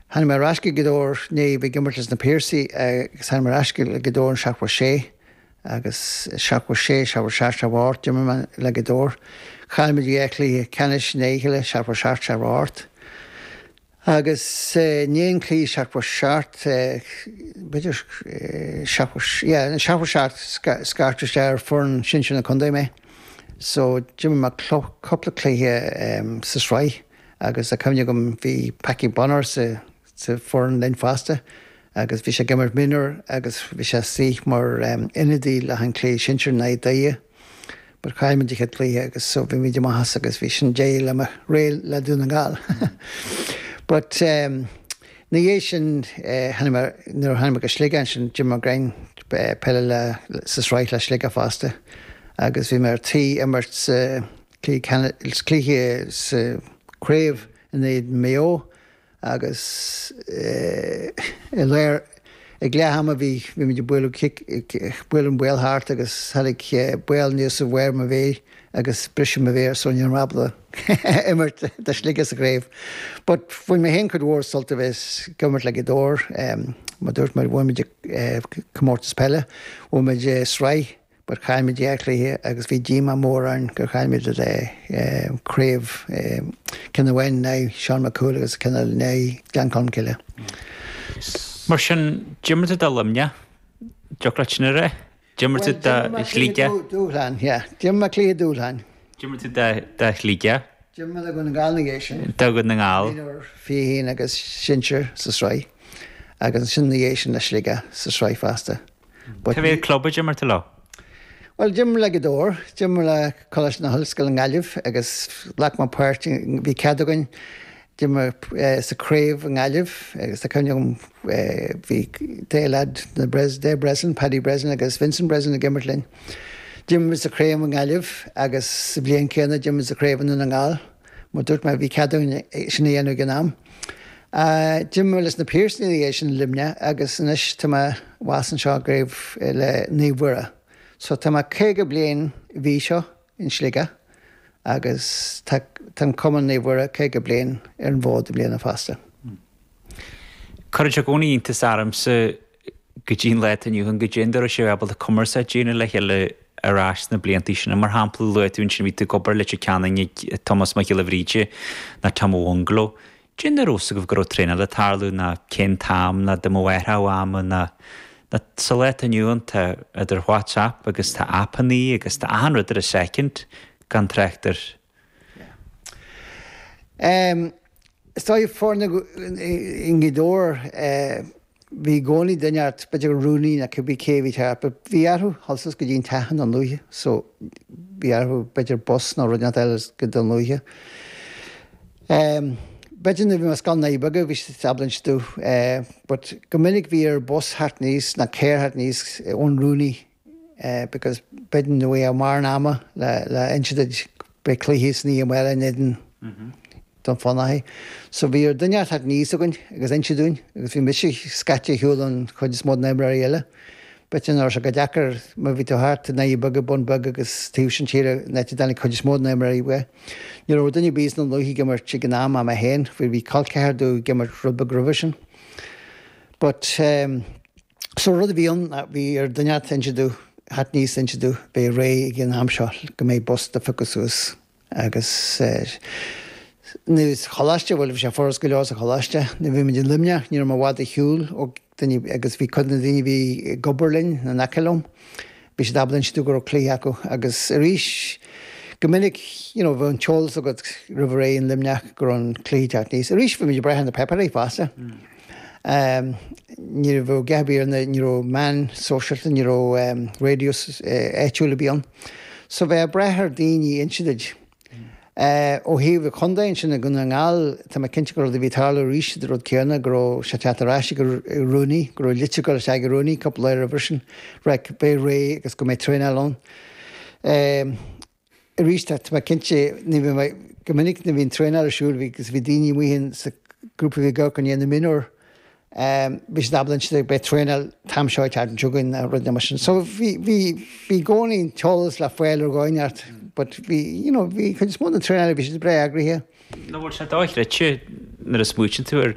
Tháinig mé ar ais go Gaoth Dobhair i ndiaidh bheith ag imirt leis na Piarsaigh agus tháinig mé ar ais go Gaoth Dobhair in 76 agus 76, 77, 78 d'imir mé le Gaoth Dobhair. Chaill muid dhá chluiche ceannais i ndiaidh a chéile, 77, 78. Agus i ndiaidh an chluiche 77, b'fhéidir 70, yeah, in 77 scairteadh isteach ar foireann sinsir na contae mé. So d'imir mé cúpla cluiche sa sraith. Agus tá cuimhne agam bhí Packie Bonner sa sa foireann linn fosta agus bhí sé ag imirt mionúr agus bhí sé istigh mar ionadaí le an cluiche sinsir in aghaidh Doire but chaill muid an chéad cluiche agus so bhí muid amach as agus bhí sin deireadh le mo ré le Dún na nGall. But ina dhiaidh sin tháinig mé nuair a tháinig mé go Sligeach ansin d'imir mé greim peile le sa sraith le Sligeach fosta agus bhí mé ar tí imirt sa Cluiche sa chraobh in éadan Maigh Eo agus i lár ag leath ama bhí bhí muid ag bualadh cic bualadh an ball thart agus tháinig ball aníos ar bharr mo mhéir agus briseadh mo mhéar so ní raibh mé ábalta imirt do Shligeach sa chraobh. But bhain mé féin cuid mhór sult a bheith ag imirt le Gaoth Dobhair mar dúirt mé bhuaigh muid comórtas peile, bhuaigh muid sraith But chaill muid dhá chluiche agus bhí díomá mór orainn gur chaill muid le craobh, ceann amháin in aghaidh Seán Mac Cumhaill agus ceann eile in aghaidh Gleann Cholm Cille. Mar sin, d'imir tú do Luimneach, dtiocfadh leat sin a rá? D'imir tú do Shligeach? Dúshlán, yeah. D'imir mé cluiche dúshláin. D'imir tú do Shligeach? D'imir mé do Dhún na nGall ina dhiaidh sin. Do Dhún na nGall. Mionúr 21 agus sinsir sa sraith agus ansin ina dhiaidh sin le Sligeach sa sraith fosta. Cé mhéad club a d'imir tú leo? Bhuel, d'imir le Gaoth Dobhair, d'imir le Coláiste na hOllscoile i nGaillimh agus ghlac mé páirt, bhí cead againn, d'imir sa craobh i nGaillimh agus tá cuimhne agam bhí dá leaid, na Dave Breslin, Paddy Breslin agus Vincent Breslin ag imirt linn. D'imir muid sa chraobh i nGaillimh agus sa bhliain céanna d'imir muid sa chraobh i nDún na nGall. Mar dúirt mé, bhí cead againn sin a dhéanamh ag an am. D'imir mé leis na Piarsaigh ina dhiaidh sin i Luimneach agus anois tá mé abhus anseo i gcraobh le Naomh Mhuire. So tá mé 50 bliain an mhí seo in Sligeach agus tá an cumann Naomh Mhuire 50 bliain ar an bhfód i mbliana fosta. Cuireann sé i gcónaí iontas ormsa go dtí an lá atá inniu ann, goidé an dóigh a raibh sibh ábalta cumarsáid a dhéanamh le chéile ar ais sna bliantaí sin. Mar shampla, luaigh tú ansin bhí tú ag obair le Leitir Ceanainn ag Tomás Mac Giolla Bhríde nó Tom Ó Bhungalow. Goidé an dóigh a raibh fhios agaibh go raibh traenáil ag tarlú ná cén t-am ná dá mbeadh athrú ama ná ná sa lá atá inniu ann tá idir WhatsApp agus tá aipeannaí agus tá achan rud ar an soicind gan trácht ar Is dóigh foirne i nGaoth Dobhair, bhí i gcónaí duine ort, b'fhéidir gur rúnaí nó cibé cé a bhí thart, but bhí orthu dhul suas go dtí an teach i nDún Lúiche so bhí orthu b'fhéidir bus nó rud inteacht eile go Dún Lúiche. B'fhéidir nuair a bhí mé i Scoil na nDoirí Beaga bhí siad ábalta inse domh but go minic bhí ar bus theacht aníos nó carr theacht aníos ón rúnaí because b'fhéidir ní bheadh mórán ama le inse duit beidh cluiche san oíche amárach in éadan Dún Fionnachaidh. So bhí ar duine theacht aníos chugainn agus inse dúinn agus bhí mise scaite ar shiúl ón chuid is mó de na imreoirí eile. B'fhéidir nach raibh sé chomh deacair má bhí tú thart i nDoirí Beaga, Bun Beag agus taobh sin tíre an áit a dtáinig cuid is mó de na imreoirí uaidh. Ní raibh duine ar bith as Dún Lúiche ag imirt ag an am ach mé féin, bhí col ceathar domh ag imirt rud beag roimhe sin. But. So rud a bhí ann ná bhí ar duine inteacht inse domh, theacht aníos inse domh, beidh réidh ag an am seo go mbeidh bus do phiocadh suas agus nuair sa choláiste, bhuel bhí sé furast go leor sa choláiste, nuair a bhí muid i Luimneach ní raibh mé i bhfad ar shiúl ó duine agus bhí cuid de na daoine a bhí ag obair linn in aice liom, bhí siad ábalta inse domh go raibh cluiche acu agus arís go minic you know bheadh an t-eolas agat roimh ré in Luimneach go raibh an cluiche ag teacht aníos. Arís bhí muid ag brath ar na páipéirí fosta. Ní raibh a dhath ar bith ar na, ní raibh meáin sóisialta, ní raibh raidió áitiúil ar bith ann. So bheith ag brath ar daoine inse duit. Ó thaobh an chontae ansin i nDún na nGall, tá mé cinnte gur rud a bhí ag tarlú arís an rud céanna, go raibh sé ag teacht ar ais ag an rúnaí, go raibh litir ag dul isteach ag an rúnaí cúpla lá roimhe sin, right, beidh réidh agus go mbeidh traenáil ann. Arís, tá mé cinnte, ní bhí mé, go minic nuair a bhí an traenáil ar siúl, bhí, agus bhí daoine amuigh in sa grúpa a bhí ag amharc i ndiaidh na mionúr, bhí siad ábalta inse beidh traenáil an t-am seo ag teacht chugainn nó rud mar sin. So bhí, bhí, bhí i gcónaí an t-eolas le fáil ar dhóigh inteacht but bhí, you know, bhí cuid is mó den traenáil, bhí siad breá eagraithe. Nó bhfuil sé dochreidte nuair a smaoitíonn tú air.